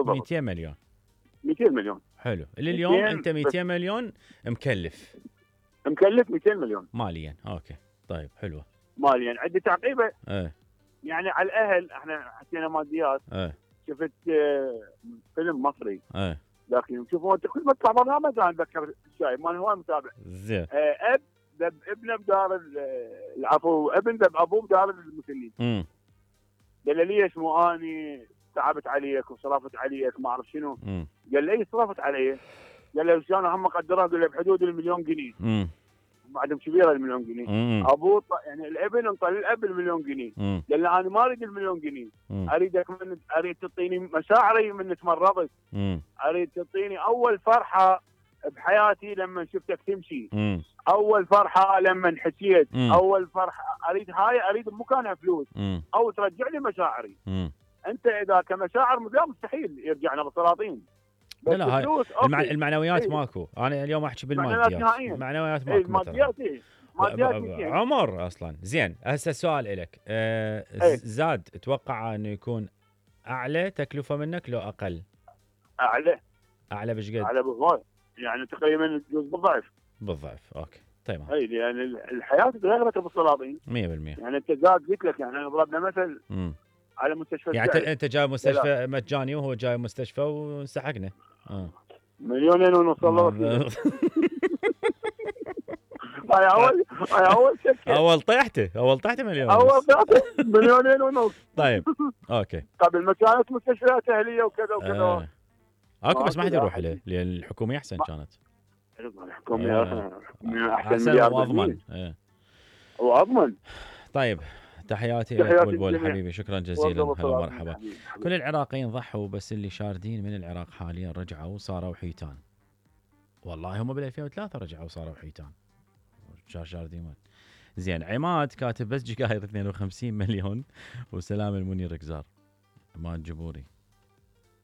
بالضبط 200 مليون 200 مليون. حلو. اليوم انت 200 مليون مكلف 200 مليون ماليا. اوكي طيب حلوه. ماليا عندي تعقيبه. ايه يعني على الاهل احنا حكينا ماديات. شفت فيلم مصري لكن شوفوا انت كل ما تطلع برنامج انا اتذكر الشايب مال هواي متابع. زين. اب ذب ابنه بدار العفو ابن ذب ابوه بدار المسنين. قال له ليش مو اني تعبت عليك وصرفت عليك ما اعرف شنو. قال له اي صرفت علي. قال له شلون هم قدرها. قال له بحدود المليون جنيه. بعدهم كبيره المليون جنيه. ابوه يعني الابن انطى للاب المليون جنيه. قال له انا ما اريد المليون جنيه. اريدك اريد تعطيني مشاعري من تمرضت. اريد تعطيني اول فرحه بحياتي لما شفتك تمشي. اول فرحه لما حكيت. اول فرحه اريد بمكانها فلوس. او ترجع لي مشاعري. انت اذا كمشاعر مستحيل يرجعنا بالسلاطين. لا هاي المعنويات ماكو. انا اليوم احكي بالماديات. المعنويات ماكو. ماديات عمر اصلا. زين هسه السؤال لك. زاد تتوقع انه يكون اعلى تكلفه منك لو اقل؟ اعلى بشقد؟ اعلى بهواي يعني تقريبا بالضعف. اوكي تمام. اي يعني الحياه تغيرت بالسلاطين 100%. يعني انت زاد قلت لك يعني ضربنا مثل على مستشفى يعني انت جاي مستشفى مجاني وهو جاي مستشفى وانسحقنا. 2.5 مليون الله. اول طيحته مليون. اول طيحته 1.5 مليون. طيب اوكي. قبل ما كانت مستشفيات اهليه وكذا اكو بس ما حد يروح له لان الحكوميه احسن كانت. الحكوميه احسن واضمن. واضمن. طيب تحياتي لك بلبل حبيبي. شكرا جزيلا. هلا ومرحبا. كل العراقيين ضحوا بس اللي شاردين من العراق حاليا رجعوا وصاروا حيتان. والله هم بال 2003 رجعوا وصاروا حيتان. شاردين. زين. عماد كاتب بس جقاير 52 مليون وسلام المنير قزار. عماد جبوري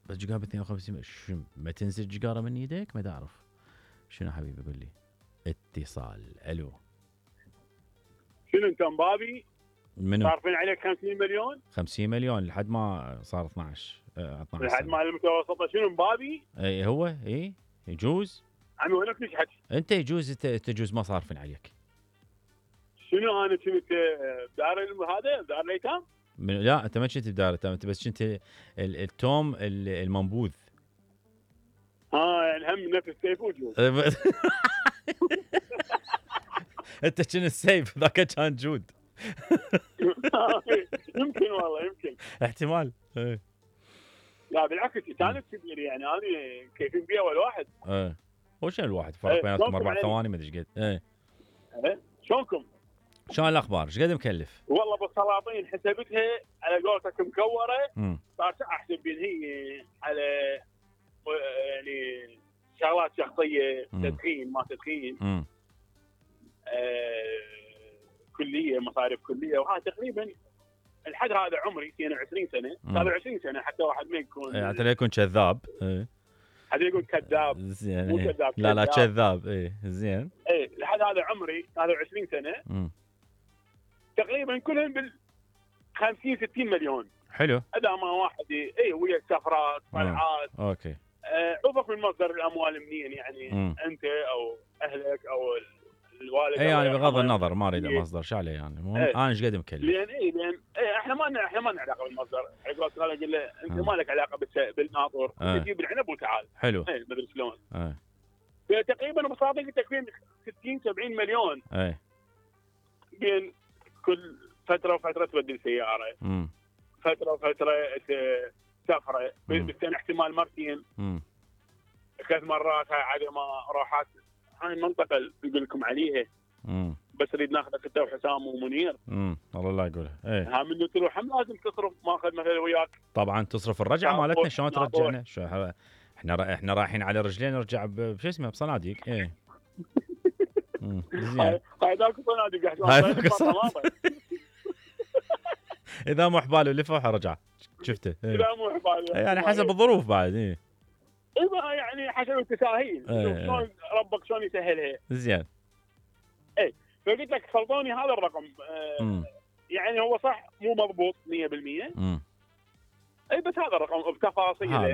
بس جقاير ب 52 شو ما تنزل جقاره من ايدك ما تعرف شنو حبيبي. قول لي. اتصال. الو شنو انت مبابي؟ منو؟ صارفين عليك 50 مليون؟ 50 مليون لحد ما صار 12 لحد ما المتوسطه شنو مبابي؟ اي هو يجوز. عمي وينك نشحت؟ انت يجوز تجوز ما صارفين عليك. شنو انا كنت بدار هذا بدار الايتام؟ لا انت ما كنت بدار الايتام. انت بس كنت التوم المنبوذ. يعني هم نفس السيف وجود. انت كنت السيف ذاك كان جود. يمكن والله يمكن احتمال. لا بالعكس كانت كبير يعني انا كيفين بيها اول واحد. هو شنو الواحد فرق بيناتكم 4 ثواني ما ادري ايش قد. شلونكم؟ شلون الاخبار؟ ايش قد مكلف؟ والله بالسلاطين حسبتها على قولتك مكوره. صارت احسب هي على يعني شغلات شخصيه تدخين ما تدخين. كليه مصاريف كليه وهذا تقريبا الحد هذا عمري 22 سنه. 27 سنه حتى واحد ما يكون حتى لا يكون كذاب. حتى يقول كذاب. زين. مو كذاب. لا كذاب. زين. لحد هذا عمري 23 سنه. تقريبا كلهم بال 50 60 مليون. حلو. اذا ما واحد ويا سفرات طلعات. اوكي. عوفك من مصدر الاموال منين يعني. انت او اهلك او الوالد. يعني بغض النظر ما اريد مصدر شو عليه يعني. انا ايش قد مكلف. لان احنا ما لنا علاقه بالمصدر. اقول له انت ما لك علاقه بالناطور. تجيب العنب وتعال. حلو. ما ادري شلون. فتقريبا بصادق تكفين 60 70 مليون. بين كل فتره وفتره تبدل سياره. فتره وفتره سفره. بالسنه احتمال مرتين 3 مرات. هاي عدم روحات. هاي المنطقه اللي اقول لكم عليها. بس نريد ناخذك انت وحسام ومنير. الله لا يقولها. ها من تروح هم لازم تصرف. ماخذ مثلا وياك طبعا تصرف الرجعه مالتنا. شلون ترجعنا؟ احنا رايحين على رجلين نرجع بشو اسمه بصناديق. زين. هاي ذاك صناديق. اذا مو حباله لفه رجع. شفته. اذا مو حباله يعني حسب الظروف بعد. يعني حسب التساهيل. شلون ربك شلون يسهلها. زين. فقلت لك فرضوني هذا الرقم. يعني هو صح مو مضبوط 100%. بس هذا الرقم بتفاصيله.